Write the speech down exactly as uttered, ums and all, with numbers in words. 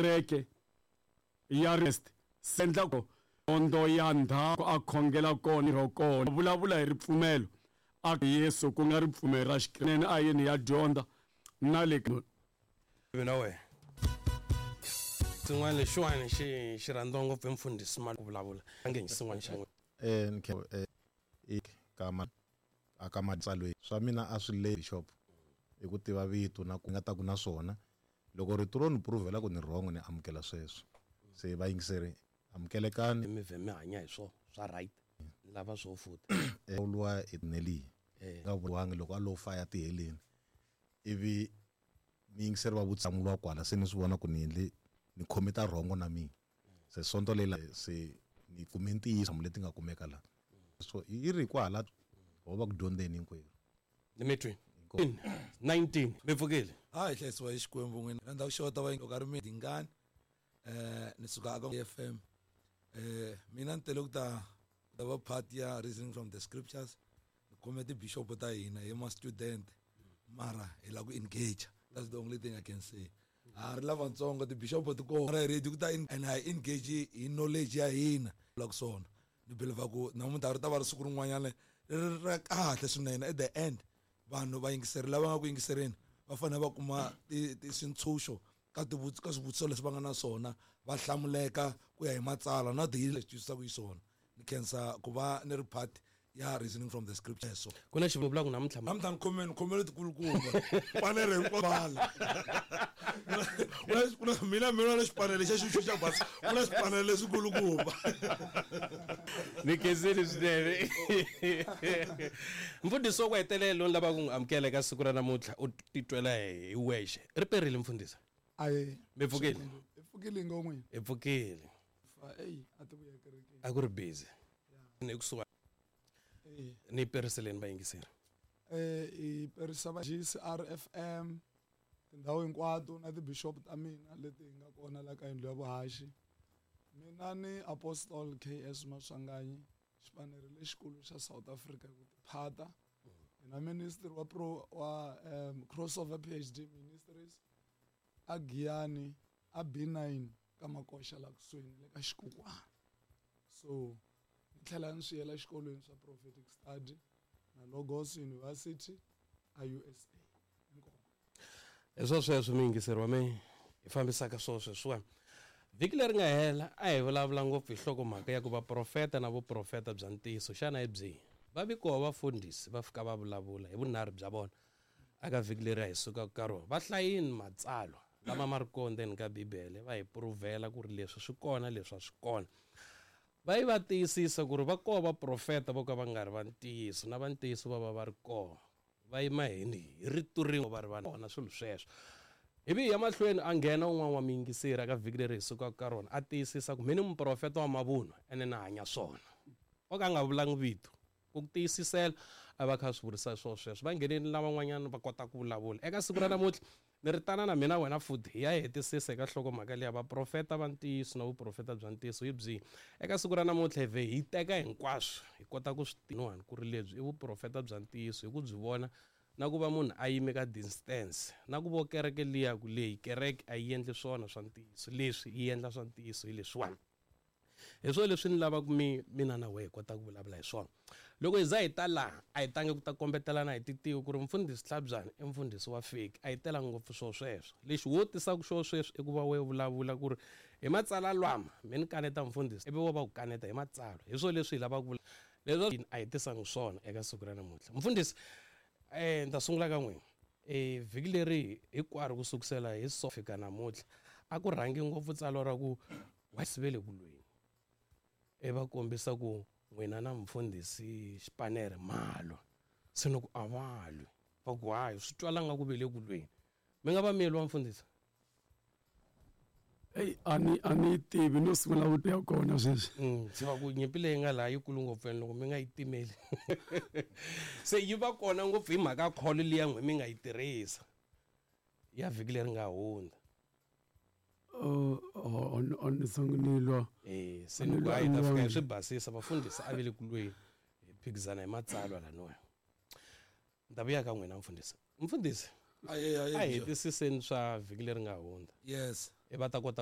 Kereke ya rest sendla ko ondo ya ndhaku a khongela kona ro kona vulavula hi ripfumelo a Yesu ku nga ripfumelo ra Xikreste a yini ya dyondza na le mina we xin'wana lexiwani xi xi rhandziwa ngopfu hi mfundhisi ma ku vulavula a nge xin'wana xa n'wina eh nkhe eh kama aka matsalweni swa mina a swi le bishop hi ku tiva vito na ku nga ta ku na swona loko rito ro ni provela ku ni wrong ni amukela sweswo se va yingiseri amukelekani mi vhe mi hanya hi swo swa right ni lava swo futa lwa etneli nga vulangi loko a lo faya tiheleni ivi mi yingiseri va vutsamulwa kwala se ni swi vona ku ni endle ni khomita rhongo na mina se sonto leyi se ni kume ntiyiso leti nga kumeka la so yi ri kwala ho va ku dyondzeni hinkwerhu ni mi twi nineteen mi pfukile a hi hlayisiwa hi Xikwembu n'wina rhandza ku xota va loko a ri mi dingani eh ni suka aka F M eh mina ni tele ku ta ta va part ya reasoning from the scriptures ni khome ti-bishop ta hina hi ma student mara hi lava ku engage. That's the only thing I can say. A ri lavatsongo ti-bishop ti kona hi ready ku ta and hi engage hi knowledge ya hina la ku swona ni believe ku namuntlha ri ta va ri siku rin'wanyana ri ra kahle swinene. At the end vanhu va yingiseri lava nga ku yingisereni va fanele va kuma swintshuxo ka ka swivutiso leswi va nga na swona va hlamuleka ku ya hi matsalwa na the leswi twisisaka xiswona. Ni khensa ku va ni ri part ya reasoning from the scriptures. So ku na xivula ku namuntlha namuntlha ni khomeni ni khomele tikulukumba panele hinkwalo kuna mina mina na xipanele xa xuxu xa basa ku na xipanele leswikulukumba ni khensile swinene. Mfundhisi wa ku hetelela lowu ni lavaka ku n'wi amukela eka siku ra namuntlha u titwela hi wexe ri perile mfundhisi. Ayi mi pfukile hi pfukile ngomwe hi pfukile ey a ti vuya kerekeni a ku ri busy ni kusuka ni periseleni vayingiseri eh i perisa va G C R F M tindhawu hinkwato na ti-bishop ta mina leti hi nga kona la ka yindlu ya vuhaxi. Mina ni Apostle K S Maswanganyi xipanere lexikulu xa South Africa ku tiphata na ministry wa pro wa um, crossover P H D Ministries a Giyani a B nine ka Makoxa la kusuhi le ka Xikukwana. So ni tlhela ni swi yela xikolweni swa Prophetic Study na Logos University a U S A. Inkomu. Hi swo sweswo miyingiseri wa me hi fambisaka swo sweswiwani. Vhiki leri nga hela a hi vulavula ngopfu hi nhlokomhaka ya ku vaprofeta na vuprofeta bya ntiyiso xana hi byihi. Va vikoho vafundhisi va fika va vulavula hi vunharhu bya vona aka vhiki leri a hi sukaka ka rona. Va hlayini matsalwa lama ma ri kona ndzeni ka Bibele va hi puruvhela ku ri leswi swi kona leswi a swi kona. Va yi va tiyisisa ku ri va koho vaprofeta vo ka va nga ri va ntiyiso na va ntiyiso va va va ri kona. Va yima hi hi rito rin'we va ri va kona swilo sweswo. Ivi hi ya mahlweni a nghena un'wana wa miyingiseri aka vhiki leri hi sukaka ka rona a tiyisisa ku mina ni muprofeta wa mavunwa ene na hanya swona. O ka a nga vulangi vito ku tiyisisela a va kha a swi vurisa swo sweswo. Va ngheneni lavan'wanyana va kota ku vulavula. Eka siku ra namuntlha ni ri tana na mina wena futhi hi ya hetisisa eka nhlokomhaka leya vaprofeta va ntiyiso na vuprofeta bya ntiyiso hi byihi. Eka siku ra namuntlha hi vhe hi teka hinkwaswo hi kota ku swi tiva ku ri lebyi i vuprofeta bya ntiyiso hi ku byi vona na ku va munhu a yime ka distance na ku vo kereke liya ku leyi kereke a yi endli swona swa ntiyiso leswi yi endla swa ntiyiso hi leswiwani. Hi swona leswi ni lavaka mi mina na wehe hi kota ku vulavula hi swona. Loko hi za hi ta laha a hi tangi ku ta kombetelana hi titiko ku ri mfundhisi Tlhabyana i mfundhisi wa fake a hi telanga ngopfu swo sweswo. Lexi wo tisaka xo sweswo i ku va wehe vulavula ku ri hi matsalwa lama mi ni kaneta mfundhisi ivi wo va ku kaneta hi matsalwa. Hi swona leswi hi lavaka ku leswi a hi tisanga swona eka siku ra namuntlha. Mfundhisi eh ni ta sungula ka n'wina. Eh vhiki leri hinkwaro ku sukusela hi so fika namuntlha a ku rhangi ngopfu tsalwa ra ku wa sivele ku lweni. E va kombisa ku n'wina na mfundhisi Xipanere malo se ni ku a va lwi va ku hayi swi twala nga ku ve le ku lweni mi nga va miyeli wa mfundhisi. Hey ani ani tivi no sungula ku ya kona sweswi. Mm se va ku nyimpi leyi nga laha yikulu ngopfu ene loko mi nga yi timeli se yi va kona ngopfu hi mhaka kholo liya n'we mi nga yi tirhisa ya vhiki leri nga hundza. Oh on on songunilwa eh se ni ku hayi ta fika hi swi basisa vafundhisi a ve le ku lweni hi phikizana hi matsalwa laniwa. Ni ta vuya ka n'wina mfundhisi. Mfundhisi Aye aye a hetisiseni swa vhiki leri nga hundza. Yes. E va ta kota